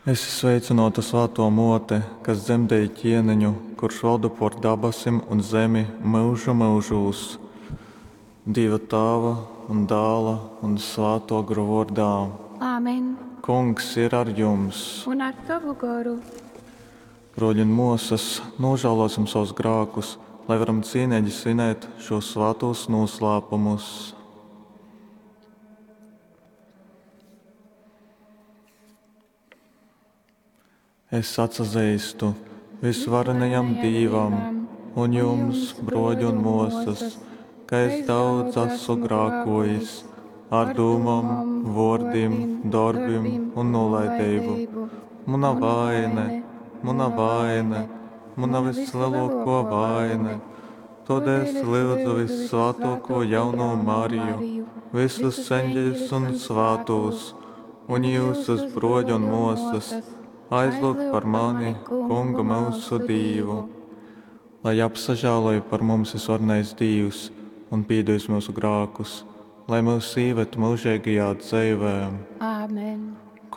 Esi sveicynōta, svātō Mōte, kas dzemdēji ķieneņu, kurš valda pōr dabasim un zemi myužu myužūs. Dīva Tāva un Dāla un Svātō Gora vōrdā. Āmen. Kungs ir ar jums! Un ar tovu goru. Brōļi un mōsas, nūžālōsim sovus grākus, lai varam cīneigi svinēt šūs svātūs nūslāpumus. Es atsazeistu visvarenajam Dīvam un jums, brōļi un mōsas, ka es daudz esmu grākōjis ar dūmom, vōrdim, dorbim un nūlaideibu. Muna vaine, muna vaine, muna vislelōkō vaine. Tōdēļ es lyudzu vyssvātōkō jaunū Mariju, visus eņģeļus un svātūs, un jyusus, brōļi un mōsas, aizlyugt par mani Kungu myusu Dīvu. Lai apsažāloj par mums visvarenais Dīvs un pīdūs myusu grākus, lai myus īved myužeigajā dzeivē. Āmen.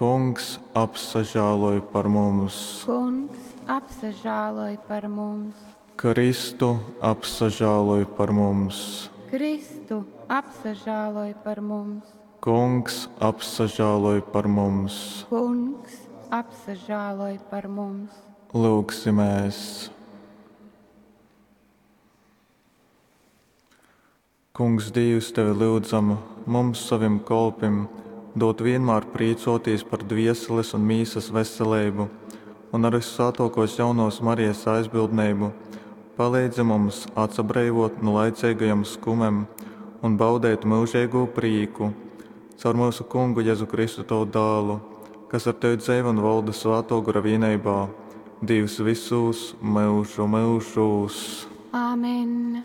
Kungs, apsažāloj par mums! Kungs, apsažāloj par mums! Kristu, apsažāloj par mums! Kristu, apsažāloj par mums! Kungs, apsažāloj par mums! Kungs, apsažāloj par mums! Lyugsimēs! Kungs, Dīvs, tevi lyudzam, mums, sovim kolpim, dod vienmēr prīcōtīs par dvieseles un mīsas veseleibu un ar vyssvātōkōs jaunōs Marijas aizbildneibu paleidzi mums atsabreivōt nu laiceigajom skumem un baudeit myužeigū prīku. Caur myusu Kungu Jezu Kristu, tovu dālu, kas ar tevi dzeivo un volda Svātō Gora vīneibā, Dīvs vysūs myužu myužūs. Āmen.